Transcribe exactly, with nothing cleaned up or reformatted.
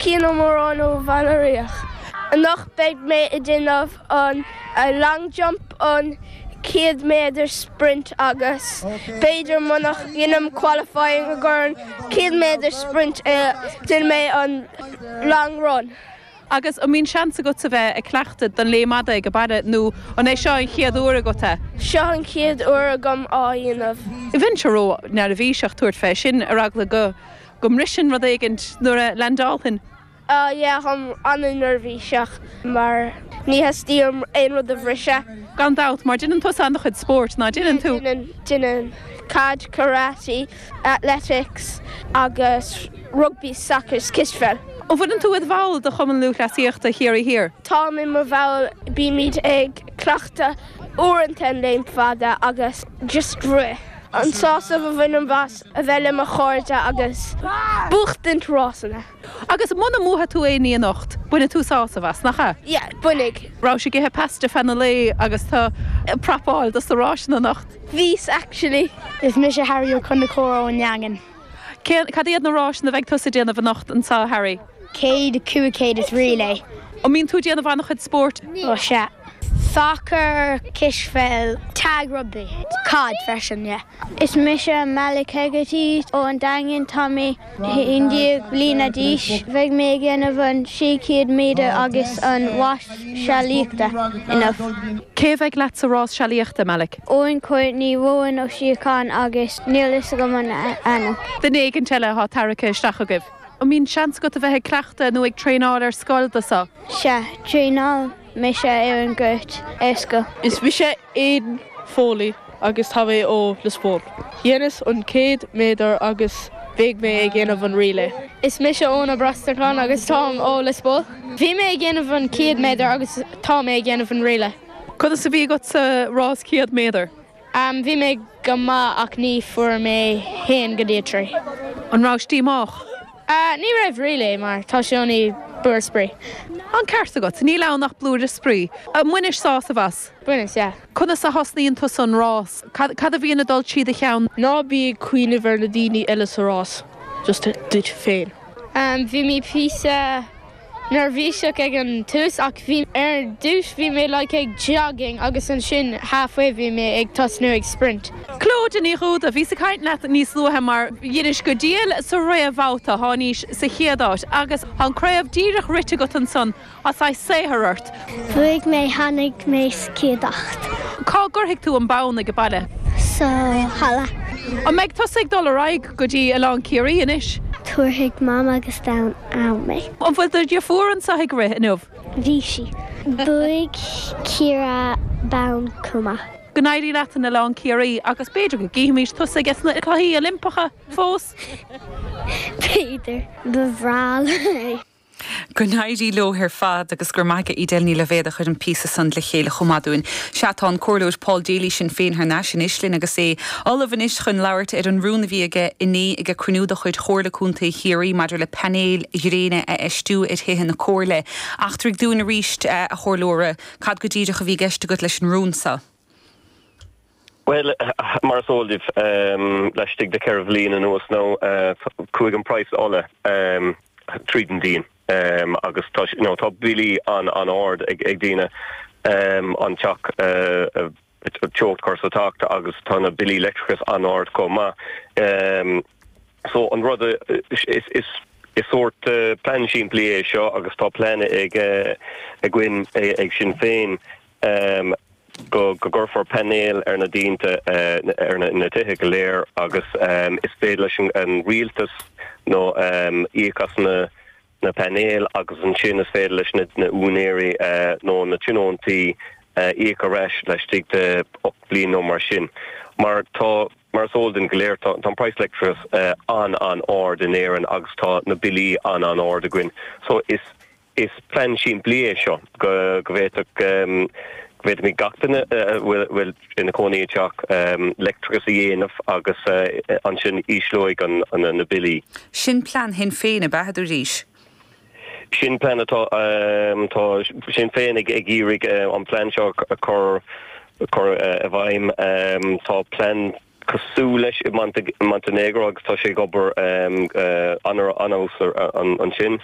Cian Ó Móráin ó Bhaile Riach. Anocht beidh mé ag déanamh an long jump an céad méadar sprint agus b'fhéidir muna ndéanaim qualifying a gur céad méadar sprint déanfaidh mé an long run. Agus an mbíonn seans agat a bheith ag cleachtadh don léim fhada ag an baile nó an é seo an chéad uair agat é? Seo an chéad uair agam á dhéanamh. Bheinnse ró-neirbhíseach tabhairt fé sin ar eagla go go mbriseann rud éigin nuair a landálann. Uh, yeah, táim an-neirbhíseach mar ní theastaíonn aon rud a bhriseadh. Gan dabht mar déanann tú an-chuid spóirt ná déanann tú. Déanaim caid karate, athletics agus rugby soccer cispheil. An bhfuil tú i do bhall de Chumann Lúthchleasaíochta Chiarraí Thiar. Táim i mo bhall bímid ag cleachtadh uaireanta an léim fada agus just rith. An sásamh a bhainim as a bheith le mo chairde agus buachtaint rásanna. Agus muna mbuann tú aon ní anocht, bainfidh tú sásamh as nach ea? Yeah, bainfidh. Raibh sé ag ithe pasta feadh an lae agus tá prapáil dos na rásanna anocht. Bhíos actually. Is mise Harry Ó Conchúir ón nDaingean. Cad iad na rásanna a bheidh tusa ag déanamh anocht anseo Harry? Céad cúig céad is relay. An mbíonn tú ag déanamh an-chuid spóirt? Ó sea. Soccer, cispheil, tag rugby, caid freisin, yeah. Is mise Malik Hegarty ó an Daingean tá mé aon déag bliana d'aois, bheidh mé ag déanamh an sé chéad méadar agus an rás sealaíochta inniu. Cé bheidh leat sa rás sealaíochta Malik? Owen Courtney Rowan Ó Síocháin agus níl a fhios agam an ainm. Duine éigin eile atá tarraingthe isteach agaibh. An mbíonn seans agat a bheith ag cleachtadh nó ag traenáil ar scoil do seo. Sea, traenáil mise ar an gcúirt ar scoil. Is mise Aidan Foley agus tá mé ó Lios Póil. Dhéanas an céad méadar agus beidh mé ag déanamh an relay. Is mise Óna Brastacán agus táim ó Lios Póil. Bhí mé ag déanamh an céad méadar agus tá mé ag déanamh an relay. Conas a bhí agat sa rás céad méadar? Um, bhí mé go maith ach ní fuair mé haon go dtí trí. An raibh díomách? Uh, ní raibh really mar tá sé only blúire spraoi. An ceart agat, níl ann ach blúire spraoi. Ar bhainis sásamh as. Bhaineas, yeah. Conas a thosnaíonn tú an rás, Cad a bhíonn ag dul trí do cheann? Ná bí ag cuimhneamh ar na daoine eile sa rás, just duit féin. Um, bhí mé píosa neirbhíseach ag an tús ach bhí ar dtús bhí mé like ag jogging agus ansin halfway bhí mé ag tosnú ag sprint. Clodagh Ní Dhúda, bhíos ag caint leat níos luaithe mar dheinis go diail sa réamhbhabhta thánaís sa chéad áit agus an craobh díreach rite agat ansan as é saothar ort. Bhuaigh mé tháinig mé sa chéad áit. Cá gcuirfidh tú an bonn ag an baile? Sa halla. An mbeidh tusa ag dul ar aghaidh go dtí Oileán Ciarraí anois? Tabharfaidh mam agus Daid am mé. An bhfuil do dheirfiúr anseo ag rith inniu? Bhí sí. Bhuaigh Ciara bonn chomh maith. Go n-éirí leat in Oileán Ciarraí agus b'fhéidir go gcífimid tusa ag sna Cluichí Oilimpeacha fós. B'fhéidir ba bhreá é. Go n-éirí leo ar fad agus gur maige Edel Ní Loibhéad a chuir an píosa san le chéile chomh maith dúinn. Sea tá an Comhairleoir Paul Daly Sinn Féin thar n-ais anois linn agus é ullamh anois chun labhairt ar an rún a bhí aige inné ag cruinniú de chuid Chomhairle Contae Chiarraí maidir le painéil ghréine a fheistiú ar thithe na comhairle. Eachtraigh dúinn arís a chomhairleora cad go díreach a bhí i gceist agat leis an rún seo. Well mar is eol daoibh um, laistigh de cheithre bhliain anuas nó uh, chuaigh an praghas ola um, tríd an díon. Um, agus tá no, tá billí an an-ard ag, ag daoine um, an teach uh, teocht cur sa teach agus tá na billí leictreachais an-ard chomh maith. Um, so an rud is, is, is is sórt uh, plean simplí é seo agus tá plean ag uh, againn ag, ag Sinn Féin um, go go gcuirfear painéil ar na díonta uh, ar na, na tithe go léir agus um, is féidir leis an, an rialtas nó um, íoc as na na painéil agus ansin is féidir leis na, na úinéirí uh, nó na tionóntaí uh, íoc ar ais laistigh de ocht bliain nó mar sin. Mar tá mar is eol dúinn go léir tá an praghas leictreachais uh, an an-ard in Éirinn agus tá na billí an an-ard againn. So is is plean simplí é seo go go bhféadfadh um, bhféadfaimid gach duine bhfuil bhfuil ina cónaí teach um, leictreachas a dhéanamh agus uh, ansin ísleoidh an, an na billí. Sin plean Shinn Féin ab ea arís. Sin plean atá um, tá Sinn Féin ag ag iarraidh uh, an plean seo a chur chur uh, i bhfeidhm um, tá plean cosúil leis i Montenegro agus tá sé ag obair an ansin.